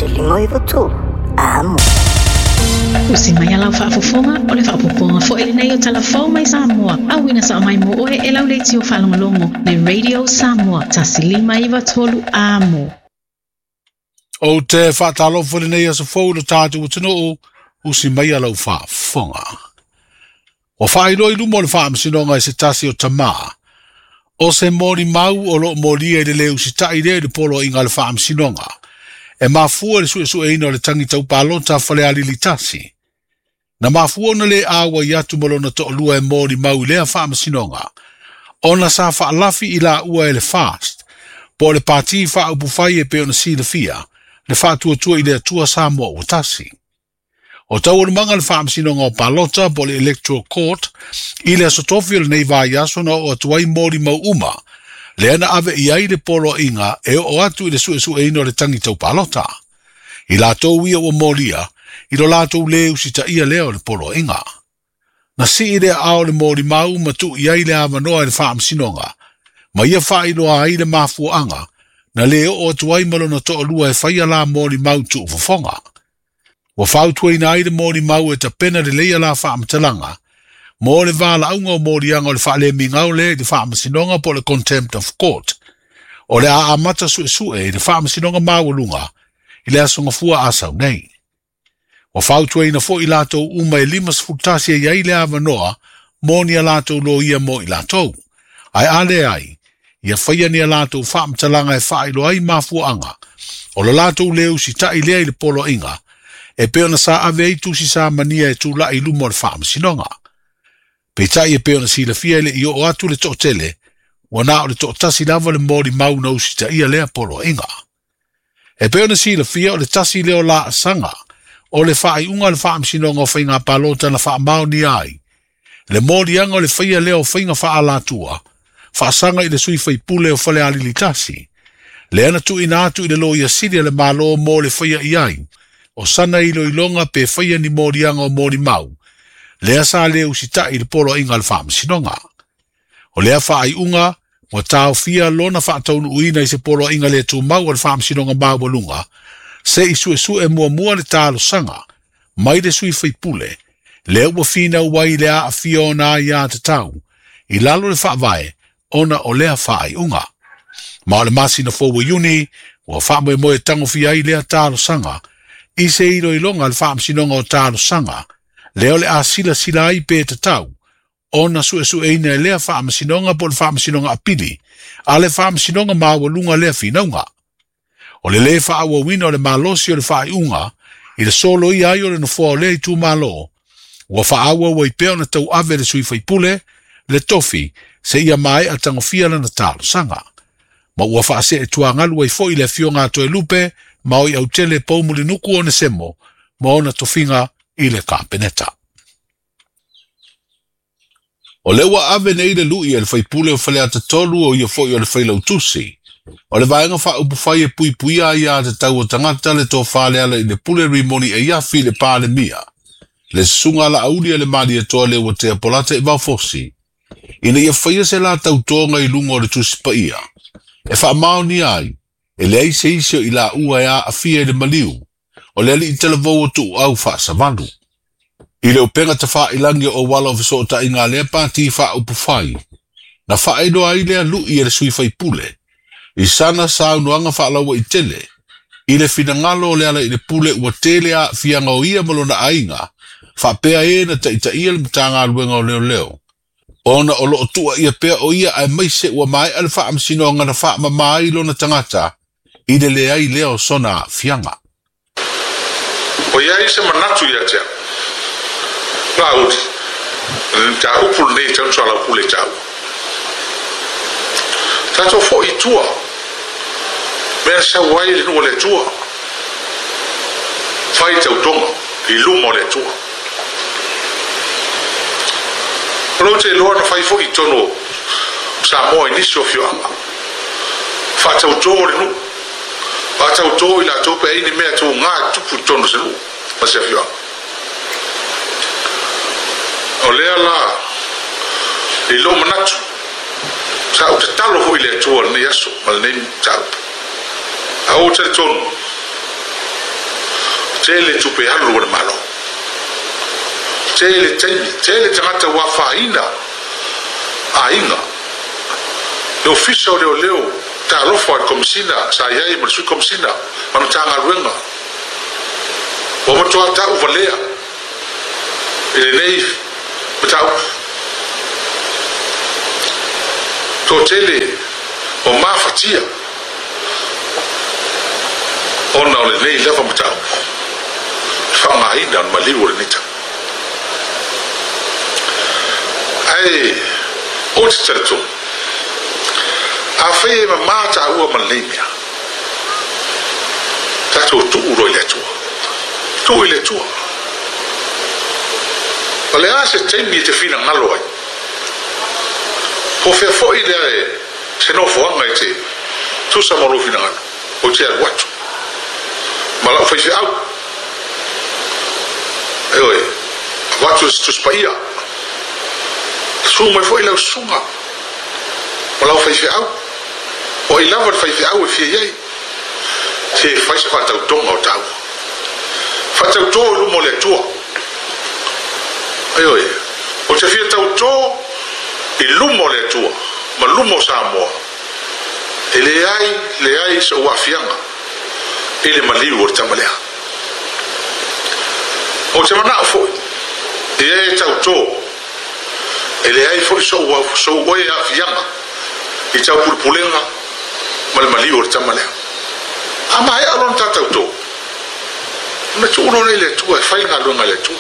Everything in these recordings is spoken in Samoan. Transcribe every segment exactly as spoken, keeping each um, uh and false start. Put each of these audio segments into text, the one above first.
Tasi lima iwa tolu. Amo. Usi mai alau faafofoga o le faapopoga foi lenei o talafou mai Samoa. Auina sa mai mo oe e lau leitio faalogologo le Radio Samoa tasi lima iwa tolu amo. O te whaatalofo le nei aso fou lo tātou atunuu, usi mai alau faafofoga. O whaailoa i luma o le faamasinoga e se tasi o tamā. O se mori mau o lo molia i le leu sita'i lea i le poloaiga a le faamasinoga. E mafua le suesueina o le tangi taupalota Falealili tasi. Na mafua ona le aua i atu ma lona to'alua e moli mau i lea faamasinoga. Ona sa faalafi i la ua e le FAST, po o le pati faaupufai e pei ona silafia, le faatuatua i le Atua Samoa ua tasi. O taualumaga le faamasinoga o palota po o le Electoral Court i le aso tofi o lenei vaiaso na oo atu ai moli mau uma, lea na ave i ai le poloaiga e oo atu i le suesueina o le tangi taupalota. I latou ia ua molia, i lo latou le usitaia lea o le poloaiga. Na sii lea ao le moli mau ma tuu i ai le avanoa i le faamasinoga, ma ia faailoa ai le mafuaaga, na le oo atu ai ma lona to'alua e faia la moli mau tuufofoga. Ua fautuaina ai le moli mau e tapena lelei la faamatalaga, mo le valaauga o moliaga o le faalemigao lea i le faamasinoga po o le Contempt of Court. O le a amata suesue i le faamasinoga maualuga i le aso gafua asau nei. Ua fautuaina foi latou uma e lima sefulu tasi e i ai le avanoa mo ni a latou loia mo i latou. Ae a leai, ia faia ni a latou faamatalaga e faailoa ai mafuaaga o lo latou le usita'i lea i le poloaiga, e pei ona sa ave ai tusi sa mania e tula'i i luma o le faamasinoga. Peitai e pei ona silafia e le i oo atu le to'atele, ua na o le to'atasi lava le moli mau na usitaia lea poloaiga. E pei ona silafia o le tasi lea o laasaga o le faaiuga o le faamasinoga o faiga palota na faamaonia ai, le moliaga o le faia lea o faiga faaalatua, faasaga i le sui faipule o Falealili tasi, lea na tuuina atu i le loia sili a le Malo mo le faia i ai, o sana iloiloga pe faia ni moliaga o moli mau, lea sa le usita'i i le poloaiga a le faamasinoga. O lea faaiuga ua taofia lona faataunuuina i se poloaiga le tumau a le faamasinoga maualuga, se i suesue muamua le talosaga mai le sui faipule, lea ua finau ai le aafia ona aiatatau i lalo le faavae ona o lea faaiuga. Ma o le masina fou o Iuni, ua faamoemoe tagofia ai lea talosaga i se iloiloga a le faamasinoga o talosaga, lea o le a silasila ai pe tatau ona suesueina e lea faamasinoga po o le faamasinoga apili a le faamasinoga maualuga lea finauga. O le lē faaauauina o le malosi o le faaiuga i le soloia ai o le nofoa o lea itumalo, ua faaauau ai pea ona tauave le sui faipule le tofi seia maea tagofia lana talosaga. Ma ua faaseetuagalu ai foi le afioga a Toelupe ma o i autele Poumulinuku Onesemo ma ona tofiga i le Kapeneta. O le ua ave nei le lui e le faipule o Faleata tolu o ia foi o le failautusi. O le vaega faaupufai e puipuia ai aiatatau o tagata le tofa le ala i le pule Rimoni Eiafi i le Palemia. Le susuga Laauli a le Malietoa le ua tea Polata i Vaofosi. Ina ia faia se la tautoga i luga o le Tusi Paia. E faamaonia ai, e leai se isi o i laua e aafia i le maliu, o le alii talavou o tuuau faasavalu. I le upega tafailangi o auala o fesootaiga a lea pati faaupufai, na faailoa ai lea lui e le sui faipule, i sana saunoaga faalauaitele, i le finagalo o le ala i le pule ua tele aafiaga o ia ma lona aiga, faapea e na taitaia le Matagaluega o Leoleo. Ona o loo tuuaia pea o ia aemaise ua maea le faamasinoga na faamama ai lona tagata i le leai lea o sona aafiaga. O i ai se manatu ia te au, Laauli, o le mataupu lenei e tatau ona soalaupule taua. Tatou foi i tua, mea na sau ai le nuu o le Atua, fai tautoga i luma o le Atua. O lou te iloa na fai foi i totonu o Samoa i nisi o afioaga, faatautō le nuu, faatautō i latou pe ai ni mea tuga e tupu i totonu o se nuu ma se afioaga. O lea la i lou manatu, sa ou tatalo foi i le Atua i lenei aso ma lenei mataupu. A ou talitonu, Tele tupe alu o le malo. Tele taimi, tele tagata ua afaina aiga. Le ofisa o leoleo talofa i le Komesina sa i ai ma le Sui Komesina ma le Matagaluega. Ua matoa ta'u valea i lenei mataupu. Toatele o mafatia ona o lenei lava mataupu faaaogaina o le maliu o lenei tau. Ae ou te talitonu, afai e mamā tāua ma lenei mea, tatou tuu loa i le Atua. Tuu i le Atua. O le a se taimi e te finagalo ai. Po fea foi lea e se nofoaga e te tusa ma lou finagalo, ou te alu atu ma lau faifeau. Ioe, avatu se Tusi Paia. Susu mai foi lau susuga ma lau faifeau. O ai lava le faifeau e fia i ai. Se fai se faatautoga o taua. Faatautō i luma o le Atua. Ioe, ou te fia tautō i luma o le Atua ma luma o Samoa. E leai, leai sou aafiaga i le maliu o le tama lea. Ou te manao foi, e e tautō, e leai foi sou, sou oe aafiaga i taupulepulega ma le maliu o le tama lea. A maea lona ta tautō, ona tuu loa lea i le Atua e fai le galuega a le Atua.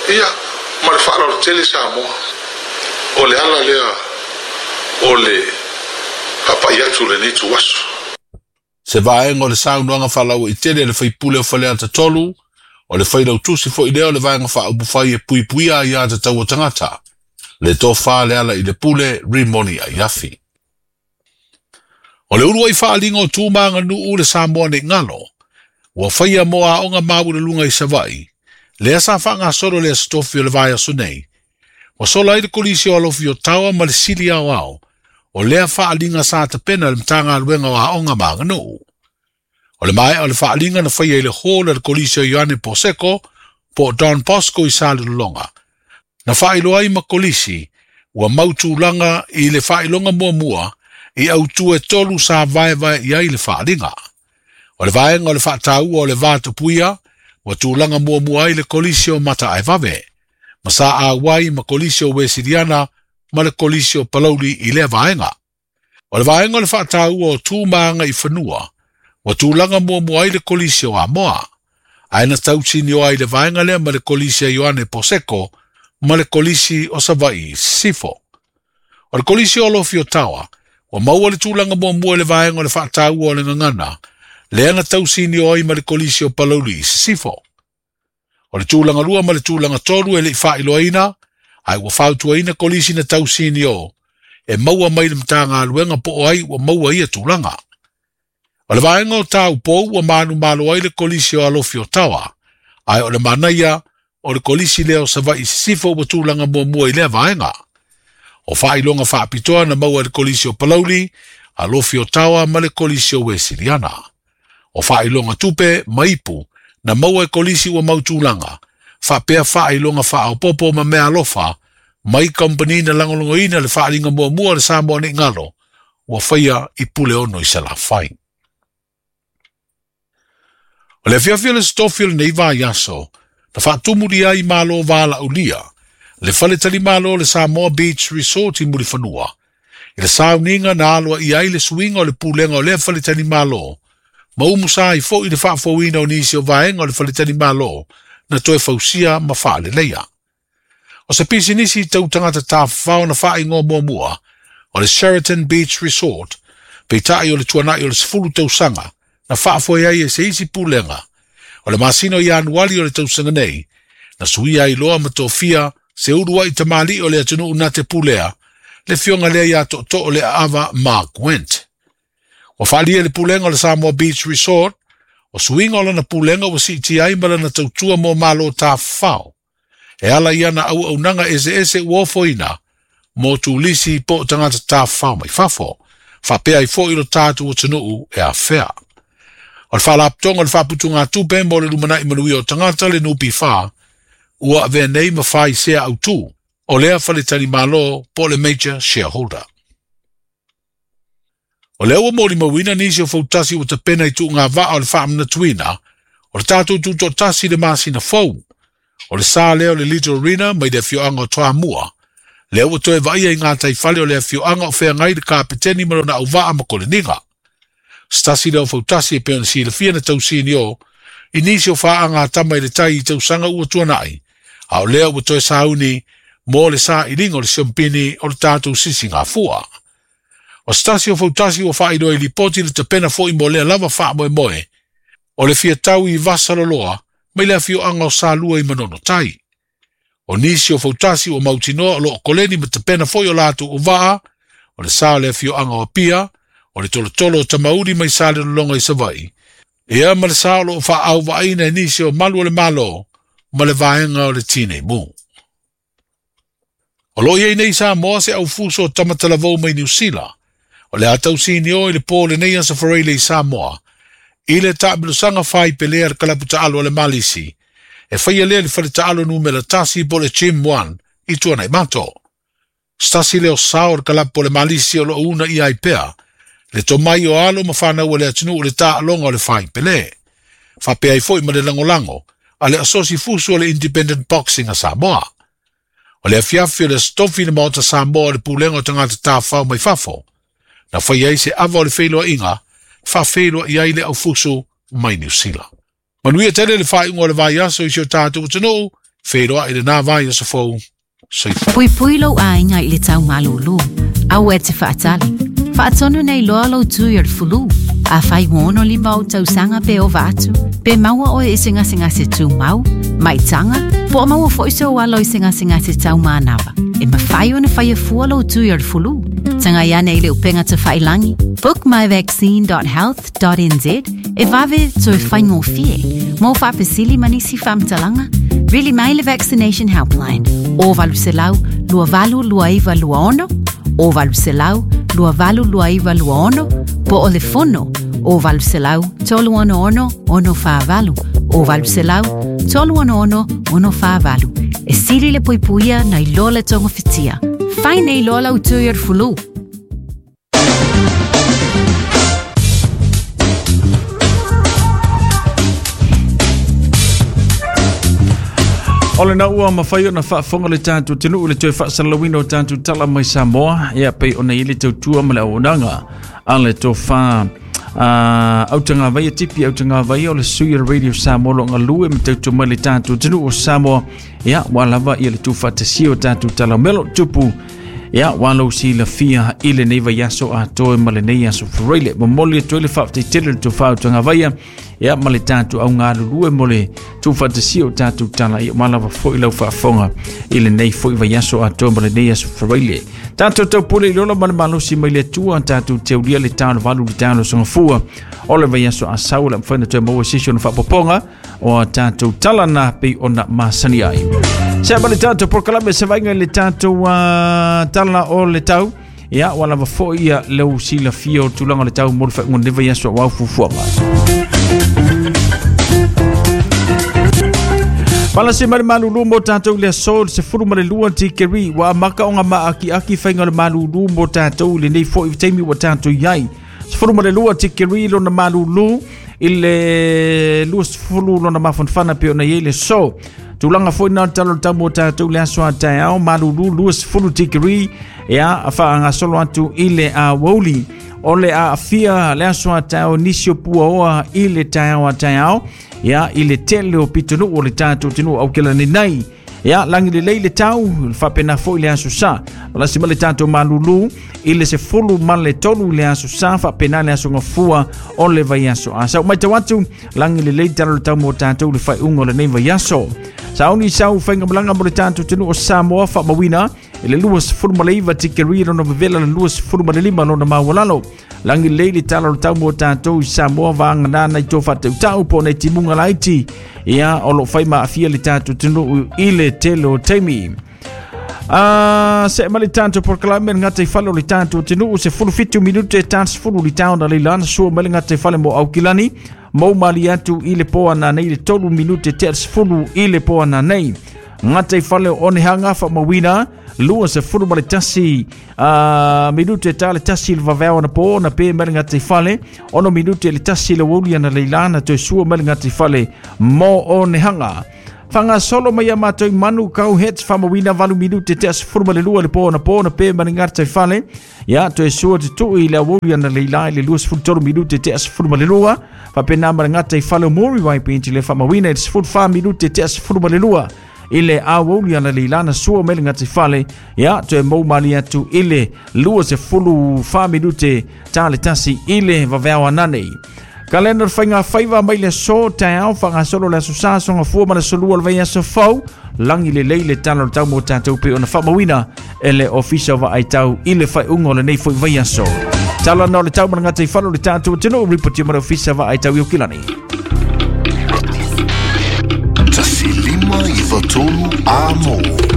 Ia, ma le faaaloalo tele Samoa, o le ala lea o le faapai atu lenei ituaso. Se vaega o le saunoaga faalauaitele a le faipule o Faleata tolu, o le failautusi foi lea o le Vaega Faaupufai e Puipuia Aiā Tatau a Tagata, le Tofa le ala i le Pule Rimoni Aiafi. O le uluai faaaliga o tu ma aganuu le Samoa nei galo, ua faia mo aoga maualuluga i Savaii, lea sa faagasolo le Aso Tofi o le vaiaso nei, ua sola ai le Kolisi o Alofi o Tawa ma le Sili Aoao o lea faaaliga sa tapena e le Matagaluega o Aoga ma Aganuu. O le maea o le faaaliga na faia i le hall a le Kolisi o Ioane Poseko po o Don Bosco i Salelologa, na faailoa ai ma Kolisi ua mau tulaga i le faailoga muamua i autu e tolu sa vaevae i ai le faaaliga. O le vaega o le faataua o le va tapuia ua tulaga muamua ai le Kolisi o Mataaevave, ma sa auai ma Kolisi o Wesiliana ma le Kolisi o Palauli i lea vaega. O le vaega o le faataua o tu ma aga i fanua, ua tulaga muamua ai le Kolisi o Amoa, ae na tausinio ai le vaega lea ma le Kolisi a Ioane Poseko ma le Kolisi o Savaii i Sisifo. O le Kolisi o Alofi o Tawa, ua maua le tulaga muamua i le vaega o le faataua o le gagana, lea na tausinio ai ma le Kolisi o Palauli i Sisifo. O le tulaga lua ma le tulaga tolu e le i faailoaina, ae ua fautuaina Kolisi na tausinio e maua mai le Matagaluega po o ai ua maua ia tulaga. O le vaega o taupou ua manumalo ai le Kolisi o Alofi o Tawa, ae o le manaia o le Kolisi lea o Savaii i Sisifo ua tulaga muamua i lea vaega. O faailoga faapitoa na maua e le Kolisi o Palauli, Alofi o Tawa ma le Kolisi o Wesiliana. O faailoga tupe ma ipu na maua e Kolisi ua mau tulaga, faapea faailoga faaopoopo ma meaalofa mai kamupani na lagolagoina le faaaliga muamua o le Samoa nei galo ua faia i Puleono i Salafai. O le afiafi o le Aso Tofi o lenei vaiaso, na faatumulia ai Malo Valaaulia, le faletalimalo o le Samoa Beach Resort i Mulifanua, i le sauniga na aloaia ai le suiga o le pulega o lea faletalimalo, ma umusa ai foi le faafouina o nisi o vaega o le faletalimalo na toe fausia ma faaleleia. O se pisinisi tau tagata tafafao na faaigoa muamua o le Sheraton Beach Resort, peitai o le tuanai o le sefulu tausaga na faafoe ai e se isi pulega. O le masina o Ianuali o le tausaga nei, na suia ai loa ma tofia se uluai tamalii o le atunuu na te pulea, le fioga lea ia Tootoo le Aava Mark Went. Ua faalia le pulega o le Samoa Beach Resort, o suiga o lana pulega ua siitia ai ma lana tautua mo malo tafafao, e ala i ana auaunaga eseese ua ofoina mo turisi po o tagata tafafao mai fafo, faapea ai foi lo tatou atunuu e afea. O le faalapotopotoga o le faaputugatupe mo le lumanai manuia o tagata le N P F ua avea nei ma fai sea autū o lea faletalimalo po o le major shareholder. O lea ua molimauina nisi o fautasi ua tapena i tuugavaa o le faamanatuina o le tatou tutoatasi le masina fou. O le sa lea o le Little Arena mai le afioaga o Toamua. Lea ua toe vaaia i gataifale o le afioaga o feagai le kapeteni ma lona auvaa ma koleniga. Stasi lea o fautasi e pei ona silafia na tausinio i nisi o faaaga tama i le tai i tausaga ua tuanai. A o lea ua toe sauni mo le sailiga o le siompini o le tatou sisigafua. O stasi o fautasi ua faailoa i lipoti le tapena foi mo lea lava faamoemoe o le fiatau i Vasaloloa mai le afioaga o Salua i Manono Tai. O nisi o fautasi ua mautinoa o loo koleni ma tapena foi o latou uvaa, o le sa o le afioaga o Apia, o le tolotolo o Tamauli mai Salelologa i Savaii, ia ma le sa o loo faaauvaaiina e nisi o malu o le Malo ma le vaega o le Tinei Mu. O loo iai nei Samoa se aufuso o tamatalavou mai Niu Sila, o le a tausinio i le pō lenei aso Faraile i Samoa, i le taamilosaga faipelea le kalapu taalo a le Malisi, e faia lea le fale taalo numera tasi po le Gym one i Tuanaimato. Stasi leo sao o le kalapu o le Malisi o loo una ia ai pea, le tomai o alo ma whanau o le atunuu le taaloga o le faipele. Faapea ai foi ma le lagolago a le asosi fusu o le Independent Boxing a Samoa. O le afiafi o le stofi le maota Samoa o le pulega o tagata tafao mai fafo. Na fai ai se ava o le feiloaiga, faafeiloai ai le aufusu mai Niu Sila. Manuia tele le faaiuga o le vaiaso i si o tatou atunuu, feiloai lenā vaiaso fou. Soifua. Puipui lou aiga i le taumalūlū, aua e te faatali. Faatonu nei loa lou tui o le fulu. A fai ono lima o tausaga pe ova atu, pe maua oe i se gasegase tumau, maitaga, po o maua foi sou alo i se gasegase taumanava. E mafai ona faia fua lou tui o le fulu. Tagai ane i le upega tafailangi, book my vaccine dot health dot n z e vave toe faigofie. Mo faafesili ma nisi faamatalaga, vili mai le Vaccination Helpline o valu selau lua valu lua iva lua ono, o valu selau lua valu lua iva lua ono, po o le fono o valu selau tolu ono ono ono whaavalu, o valu selau tolu ono ono ono whaavalu. E sili le puipuia nei loa le tonga whitia. Fai nei loa lau tui o le fulu. O le naua mawhai o na whaafonga le tātou tenu le toe whaasalawina o tātou tala mai Samoa. Ia pei o nei le tautua ma le auaunaga a le tofa autanga vaia tipi autanga vaia o le sui o le Radio Samoa lo ngalue ma tautua mai le tātou tenu o Samoa. Ia wa lava ia le tuwhatasia o tātou tala melo tupu. Ia wa lau si la fia i le nei vaiaso a toe ma le nei aso faraile. Momoli e toe le whaafteitele le tofa autanga vaia. Ia ma le tātou au ngā lulue mo le tūwhatasia o tātou tala. Ia malawa foi lau whaafonga i le nei foi vaiaso a toe ma le nei aso faraile. Tātou taupule i lola ma le malosi mai le atua. Tātou teulia le tālo valu le tālo songafua. O le vaiaso a sau la mwhaina toe maua sisi o na whaapoponga o a tātou tala nā pei o na masani ai. Sea ma le tātou prokalame se vainga i le tātou uh, tala o le tau. Ia walawa foi ia leu sila fia o tūlanga le tau mo le whaingo ne vaiaso a wau fufuanga. Pala se mare malulu mo tātou le aso se furu ma le lua tikeri wa maka o ngā maaki aki whainga le malulu mo tātou le nei foi taimi wa tātou iai. Se furu ma le lua tikeri lona malulu i le lua sefulu lona mafanfana pe ona iai le so. Tūlanga foi nā talo tau mo tātou le aso a taeao malulu lua sefulu tikeri ea a whaanga solo atu i le a wauli. O le a afia le aso a taeao nisi o pua oa i le taeao a taeao. Ia i le tele o pitunu o le tātou tinu au kela ni nei. Ia langi le lei le tau, le whapena foi le aso sa. Malasi ma le tātou malulu, i le se fulu ma le tolu le aso sa, whapena le aso ngafua o le vai aso. A sau mai tau atu, langi le lei talo le tau mo tātou le whai ungo le nei vai aso. Sauni sau whainga malanga mo le tātou tinu o Samoa whamawina, i le lua sefulu ma le iwa tikeri lona vevela le lua sefulu ma le lima lona mawalalo. Langi lei le talo le tau mo tātou i Samoa vaanga nana i tō whatautau po nei timunga laiti. Ia o lo whai maafia le tātou tinu i le tele o taimi. A se ma le tanto por kalame ngata i fale o le tanto tenu se fulu fitu minute tan fulu li town le lana sua ma le ngata i fale mo Aukilani mo mali atu i le poa na nei le tolu minute te fulu i le poa na nei ngata i fale o Onehanga fa mawina lua se fulu ma le tasi uh, minute ta le tasi le vavea na po na pe ma le ngata i fale ono minute le tasi le woli ana le lana te sua ma le ngata i fale mo Onehanga. Whanga solo mai a mātou manu kau het whamawina valu minute te asfuru ma le lua le po na po na pe ma le ngata i fale. Ia toe sua te tui le awoli ana le ilai le lua sefulu tolu minute te asfuru ma le lua. Whapena ma le ngata i fale o Mori Waipinti le whamawina i le sefulu wha minute te asfuru ma le lua. Ile awoli ana le ilana sua mai le ngata i fale. Ia toe mau mali atu ile lua sefulu wha minute ta le tasi ile vaveawa nanei. Kalenda whainga whaiva mai le so tau whanga solo le aso sa songa fua ma le solua le vai aso fau langi le leile tala o tau mo tātou pe ona whamawina e le ofisa wa ai tau i le whai ungo le nei fo i vai aso. Tala no le tau mana ngata i whalo le tātou tino ripoti ma le ofisa wa ai tau i Okilani. Tasi lima i fatolu a mo.